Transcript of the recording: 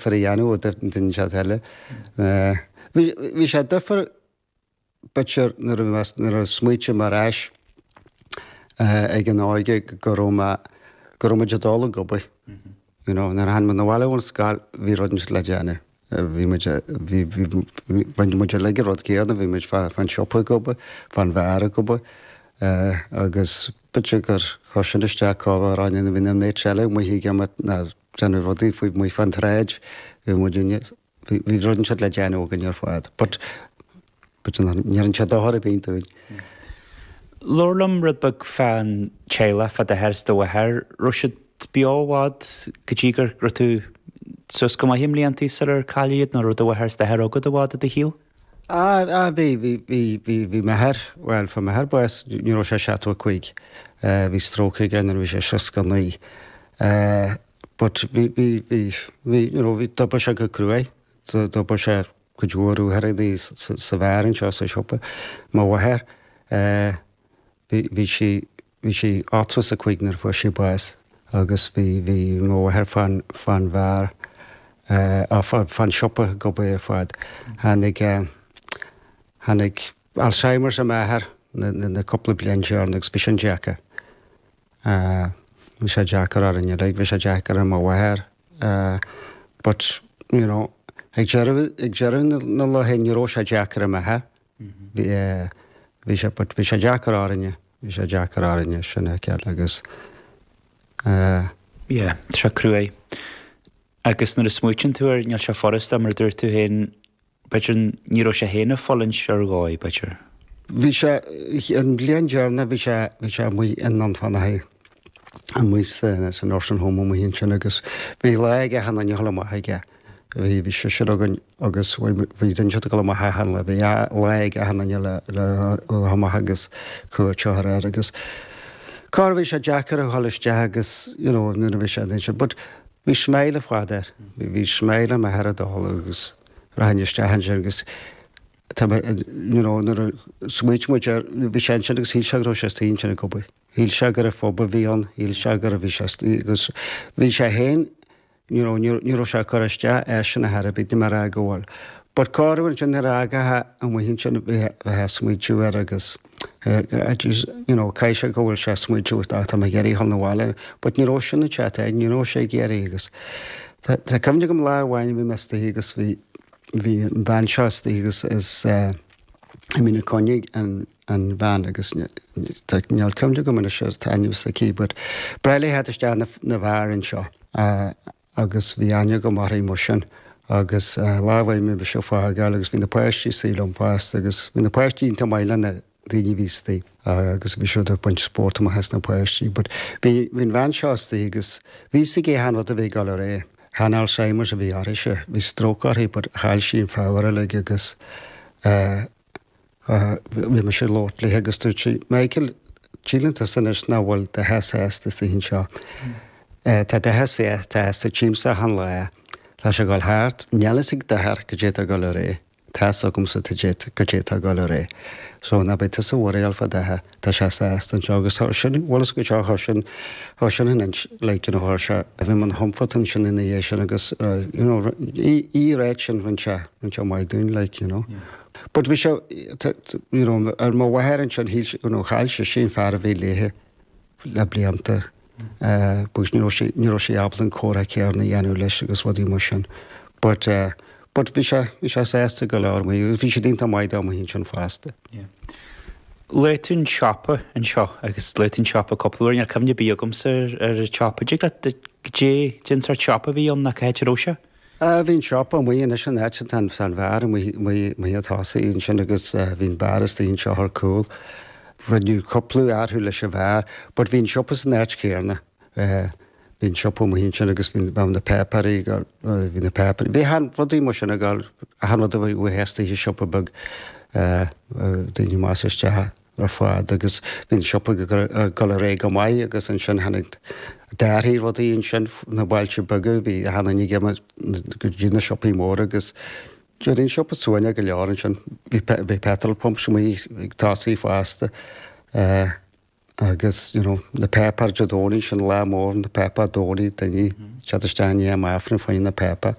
difear a dhéanamh ó duine inteacht eile. Bhí bhí sé difear b'fhéidir nuair a nuair a smaoitim ar ais ag an óige go raibh mé go raibh muid ag dul ag obair. You know, nuair a tháinig muid abhaile ón scoil bhí rud inteacht le déanamh. Bhí muid bhí bhí rinne muid uilig an rud céanna, bhí muid fán siopa ag obair, fán bheár ag obair agus b'fhéidir gur chuir sin isteach corruair orainn bhí na mates eile amuigh ag imeacht ná déanamh rudaí faoi amuigh fán tsráid, bhí muid bhí bhí rud inteacht le déanamh againn ar fad. But but ní rinne sé dochar ar bith dúinn. Labhair liom rud beag fán teaghlach, fá d'athair is do mháthair. Raibh siad beo i bhfad go dtí go raibh tú suas go maith i mbliantaí sular cailleadh iad nó raibh do mháthair is d'athair agat i bhfad i do shaol? Ah, ah, bhí, bhí, bhí, bhí, bhí m'athair, bhuel, fuair m'athair bás nuair a raibh sé 75. Bhí stroke aige nuair a bhí sé 69. But bhí, bhí, bhí, bhí, you know, bhí, d'oibrigh sé go cruaidh, d'oibrigh sé cuid mhór uaireantaí sa bheár anseo sa siopa. Mo mháthair, bhí, bhí sí, bhí sí 85 nuair a fuair sí bás agus bhí, bhí mo mháthair fán, fán bheár, fán siopa ag obair ar fad. Tháinig, tháinig Alzheimer's ar m'athair na, na cúpla bliain deireanach agus bhí sin deacair. Bhí sé deacair orainn uilig, bhí sé deacair ar mo mháthair but, you know, ag deireadh, ag deireadh na laetha ní raibh sé deacair ar m'athair. Bhí, bhí sé, but bhí sé deacair orainne, bhí sé deacair orainne, sin é ceart agus eh. Yeah, tá sé cruaidh. Agus nuair a smaoitíonn tú air, níl sé furasta mar a dúirt tú féin, B'fhéidir ní raibh sé féin ag fulaingt ar dhóigh, b'fhéidir. Bhí sé, an bhliain deireanach bhí sé, bhí sé amuigh i nDún Fionnachaidh, amuigh sa, sa nursing home amuigh ansin agus bhí lá ag achan duine a dhul amach aige. Bhí, bhí seisear againn agus bhí, bhí duine ag dul amach achan lá, bhí lá ag achan duine le, le dhul amach agus cuairt a chur air agus corruair bhí sé deacair a dhul isteach agus, you know, nuair a bhí sé ansin but bhí smile ar fad air, bhí, bhí smile ar m'athair ag dul agus. Rachainn isteach ansin agus tá mé, you know, nuair a smaoitigh muid air, bhí sé ansin agus shíl sé go raibh sé istigh ansin ag obair. Shíl sé gur ar phub a bhí ann, shíl sé gur bhí sé istigh agus bhí sé féin, you know, ní ní raibh sé ag cur isteach airsean ar chor ar bith, níl mé ag rá go bhfuil. But corruair ansin nuair a fhágfá amuigh ansin bheith ag smaointiú air agus you know, caithfidh sé go bhfuil sé ag smaointiú tá mé ag iarraidh dhul 'na bhaile, but ní raibh sin an chat aige, ní raibh sé ag iarraidh agus tá tá cuimhne agam lá amháin bhí mé istigh agus bhí bhí an bhean seo istigh agus is eh, bhí mé ina coinne an an bhean agus tá níl cuimhne agam anois ar an t-ainm s'aici but ba bhreá léi theacht isteach na na bheár anseo eh, agus bhí aithne agam uirthi mar sin agus lá amháin bhí mise ag fágáil agus bhí na páistí istigh liom fosta agus bhí na páistí iontach maith le na daoine a bhí istigh agus bhí siad ag baint spórt amach as na páistí but bhí bhí an bhean seo istigh agus bhí fhios aici achan rud a bhí ag dul ar aghaidh. Chan Alzheimer's a bhí uirthise, bhí stroke uirthi but chaill sí an phower uilig agus eh Bhí mise ag labhairt léi agus dúirt sí, Michael, síleann tusa anois nach bhfuil d'athair sásta istigh anseo. Tá d'athair sásta, tchímse achan lá. Tá sé ag dul thart. Níl fhios ag d'athair goidé atá ag dul ar aghaidh. Tá fhios agamsa goidé atá ag dul ar aghaidh. So ná beidh tusa ag worryáil fá d'athair. Tá sé sásta anseo agus chuir sin, bhfuil fhios agat seo, chuir sin, chuir sin an ins, like, you know, chuir sé, bhí mé ina chomfort ansin ina dhiaidh sin agus, you know, í, í ráit sin, rinne sé, rinne sé maith dúinn, like, you know. But bhí sé, you know, ar mo mháthair ansin, shíl sí, you know, chaill sise an fear a bhí léithe le blianta, agus ní raibh sí, ní raibh sí ábalta an comhrá céanna a dhéanamh leis agus rudaí mar sin. But, but bhí sé, bhí sé sásta go leor amuigh, agus bhí siad iontach maith dó amuigh ansin fosta. Yeah. Luaigh tú an siopa anseo agus luaigh tú an siopa cúpla uair, níl cuimhne ar bith agamsa ar, ar an tsiopa. Dtig leat, goidé, cén sórt siopa a bhí ann nó cá háit a raibh sé? Bhí an siopa amuigh anois an áit atá an bheár amuigh amuigh ag tosaí ansin agus bhí an beár istigh anseo ar cúl. Rinneadh cúpla athrú leis an bheár but bhí an siopa san áit chéanna. Bhí an siopa amuigh ansin agus bhí bheadh na páipéirí ag dul, bhí na páipéirí, bhí achan rudaí mar sin ag dul, achan rud a bhí istigh i siopa beag daoine amach is isteach. ar fad agus bhí an siopa ag dul ar aghaidh go maith agus ansin tháinig d'athraigh rudaí ansin na bailte beaga bhí achan duine ag imeacht go dtí na siopaí móra agus d'éirigh an siopa suaimhneach go leor ansin. Bhí bhí petrol pumps amuigh ag tosaí fosta agus you know na páipéir Dé Domhnaigh sin lá mór na páipéir Domhnaigh daoine ag teacht isteach i ndiaidh an Aifrinn fá choinne na páipéir.